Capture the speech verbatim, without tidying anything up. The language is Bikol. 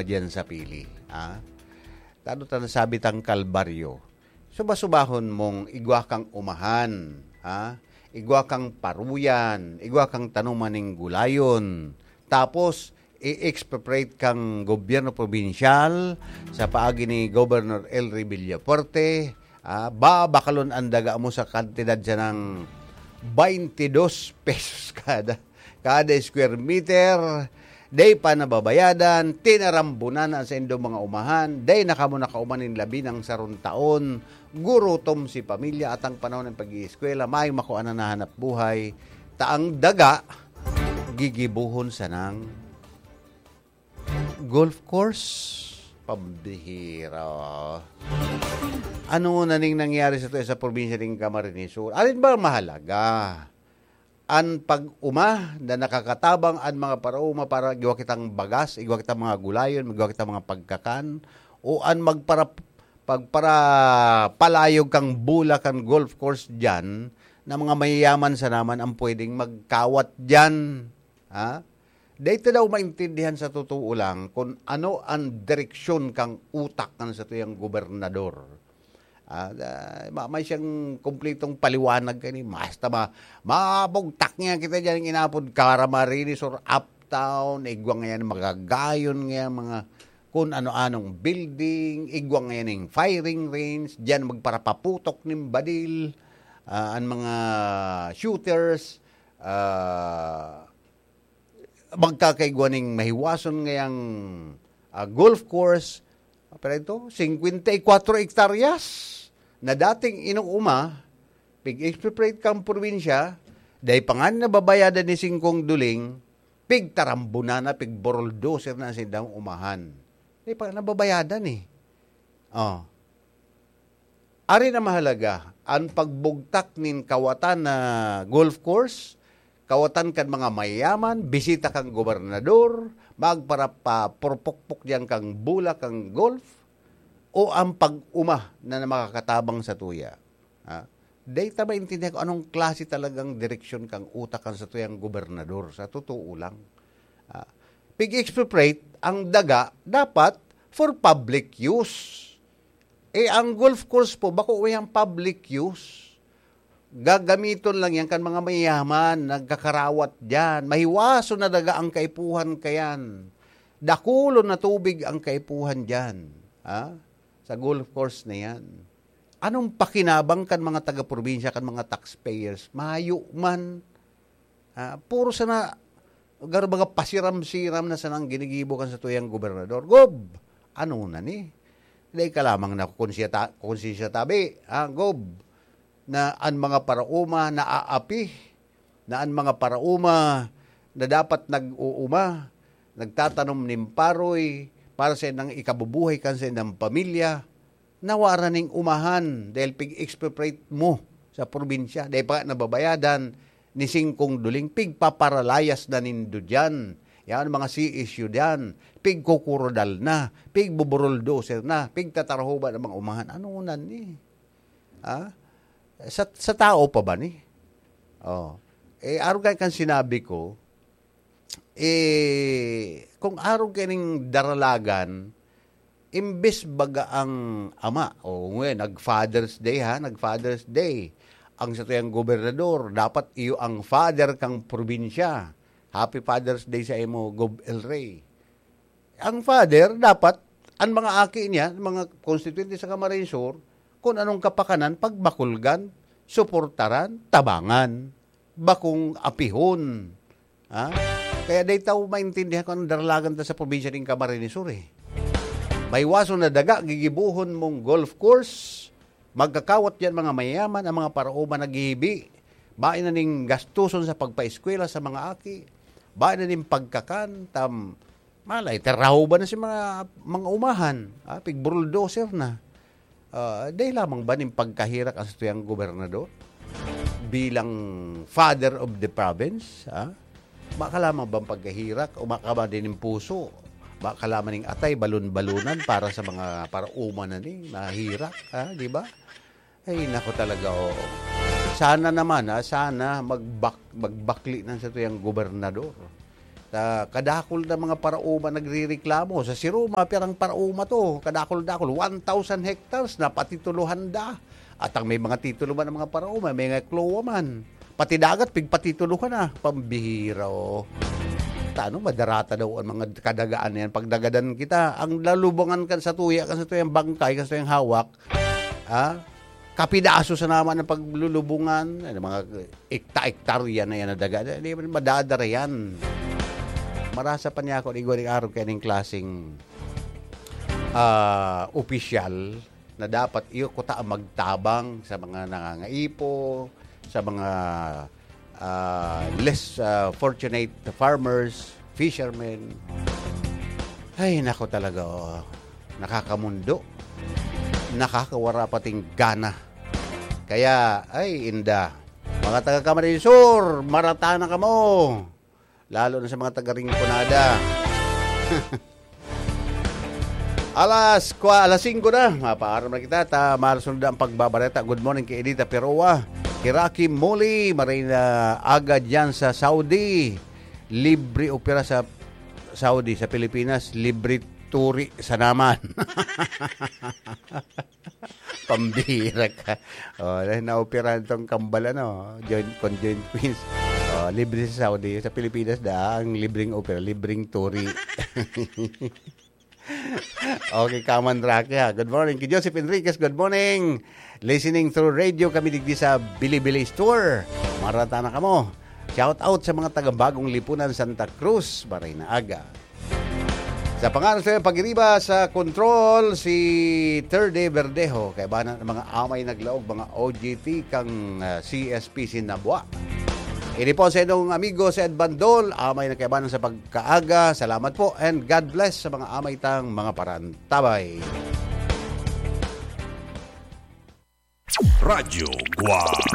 diyan sa pili, ha? Tano ta nasabi tang Kalbaryo. Suba-subahon mong igwa kang umahan, ha? Igwa kang paruyan, igwa kang tanuman ning gulayon. Tapos, i-expropriate kang gobyerno probinsyal sa paagi ni Governor Elry Villafuerte, ah, babakalon an daga mo sa kantidad siya ng twenty-dos pesos kada, kada square meter. Dai pa nababayadan, tinarambunan na sa indong mga umahan, dai na kamo nakauman nin labi ng sarong taon, gurutom si pamilya at ang panahon ng pag-iiskwela, may makua na nahanap buhay, ta ang daga, gigibuhon sanang golf course. Pambihira. Ano na ning nangyari sa, sa probinsya ning Camarines Sur? Alin ba ang mahalaga? An pag-uma na nakakatabang an mga paraoma para igwa kitang bagas, igwa kitang mga gulayon, igwa kitang mga pagkakan, o an magpara-, pagparapalayog kang bola kan golf course diyan na mga mayayaman sana man ang pwedeng magkawat diyan? Ha? Dai ta daw maintindihan sa totoo lang kun ano an direksyon kan utak kan satuyang gobernador. Ah, da-, ma-, may siyang kumpletong paliwanag kani. Basta ma-, mabugtak niya kita diyan, inapod Camarines Sur, uptown, igwa ngayan, magagayon ngayan, mga kun ano-anong building, igwa ngayan ning firing range, diyan magparapaputok nin badil, ah, an mga shooters, ah, magkakaigwa ning mahiwason ngayang, ah, golf course. Pero ito, singkwenta y kwatro hektaryas na dating inuuma, pig-expropriate kang probinsya, dai pa nga nababayadan ni singkong duling, pigtarambunan na, pigburuldoser na sa indang umahan. Dai pa nababayadan eh. Oh. Ari na mahalaga, an pagbugtak nin kawatan na golf course, kawatan kan mga mayaman, bisita kan gobernador, magparapapurpukpok diyan kang bola kang golf, o ang pag-uma na makakatabang sa tuya. Ha? Dai ta maintindihan kung anong klase talagang direksyon kang utak kan satuyang gobernador, sa totoo lang. Ah, pig-expropriate ang daga dapat for public use. Eh, ang golf course po, bako wayang public use. Gagamiton lang yan kan mga mayaman, nagkakarawat diyan. Mahiwason na daga ang kaipuhan kayan. Dakulon na tubig ang kaipuhan diyan, ha? Sa golf course na yan. Anong pakinabang kan mga taga-probinsya, kan mga taxpayers? Mayo man. Ah, puro sana, garo baga pasiram-siram na sanang ginigibo kan satuyang gobernador. Gob, ano na ni? Dai ka lamang na kung siya ta-, kung siya tabi, ah, Gob, na an mga paraoma naaapi, na an mga paraoma na dapat nag-uuma, nagtatanom nin paroy para sa inang ikabubuhay kan sa inang pamilya, nawara ning umahan dahil pig-expropriate mo sa probinsya. Dahil pa nga nababayadan ni singkong duling, pigpaparalayas na nindo diyan. Yan, mga C S U diyan. Pigkukurodal na, pigbuburuldoser na, pigtatarhoban ang mga umahan. Ano na ni? Ha? Sa, sa tao pa ba ni? Oh. Eh, arog kan sinabi ko, eh, kung arog kaining daralagan, imbes baga ang ama, o ngayon, nag-Father's Day, ha? Nag-Father's Day. Ang satuyang gobernador, dapat iyo ang father kang probinsya. Happy Father's Day sa imo, Gob El Rey. Ang father, dapat, ang mga aki niya, mga konstituyente sa Camarines Sur, kung anong kapakanan, pagbakulgan, suportaran, tabangan, bakong apihon. Ha? Kaya dai ta maintindihan kung anong daralagan ta sa probinsya ning Camarines Sur, eh. Maiwason na daga, gigibohon mong golf course, magkakawat diyan mga mayaman, ang mga paraoma naghihibi. Bain na ning gastuson sa pagpaeskwela sa mga aki. Bain na ning pagkakan, tam-, malay, tarahuban na si mga, mga umahan. Ah, pigbulldozer na. Ah, dai lamang ba nin pagkahirak ang satuyang gobernador? Bilang father of the province, ah? Baka lamang bang pagkahirak o baka ba din yung puso? Baka lamang ning atay, balon-balonan para sa mga paraoma na ni, mahirak, ah, di ba? Ay, nako talaga, oo. Sana naman, ah, sana magbak-, magbakli na satuyang gobernador. Sa kadakul na mga paraoma nagrereklamo. Sa Siroma, pirang paraoma to. Kadakul-dakul, one thousand hectares na patitulohan da. At ang may mga titulo man ng mga paraoma, may mga klowa man. Pati dagat, pigpatitulohan na. Pambihira, oh. Tano, madarata daw ang mga kadagaan na yan. Pagdagadan kita, ang lalubungan kan sa tuya, kan sa tuyang bangkay, kan sa tuyang hawak, ha? Kapidaso sa naman ng paglulubungan, ano, mga ekta-ektarya na yan na daga. Di ba madadara yan? Marasa pa niya ako, igwa ni araw kaya ning klaseng, ah, opisyal na dapat iyo kuta ang magtabang sa mga nangangaipo, sa mga, ah, less, ah, fortunate farmers, fishermen. Ay, nako talaga, oh. Nakakamundo. Nakakawara pating gana. Kaya, ay, inda. Mga taga Camarines Sur, marata na kamo. Lalo na sa mga taga Rinconada. Alas kwa-, alas singko na. Mapaaram na kita. Ta, masunod na ang pagbabareta. Good morning kay Edita Peroa. Kay Rocky Muli. Marina aga dyan sa Saudi. Libre opera sa Saudi. Sa Pilipinas, libre turi sa naman. Pambihira ka. Oh, dahil naoperahan tong kambal, ano, joint, conjoint twins. Oh, libre sa Saudi. Sa Pilipinas da, ang libreng opera, libreng turi. Okay, Kaman Rocky, ha. Good morning. Kay Joseph Enriquez, good morning. Listening through radio kami digdi sa Bilibili Store. Marata na kamo. Shout out sa mga taga Bagong Lipunan, Santa Cruz, Baraynaga. Sa pangalan sa pagiriba sa control, si Third Day Verdejo, kaibanan ng mga amay naglaog, mga O G T kang, ah, C S P Sinabwa. Ini po sa inyong amigo si Ed Bandol, amay na kaibanan sa pagkaaga. Salamat po and God bless sa mga amay tang mga parantabay. Radyo Guwang.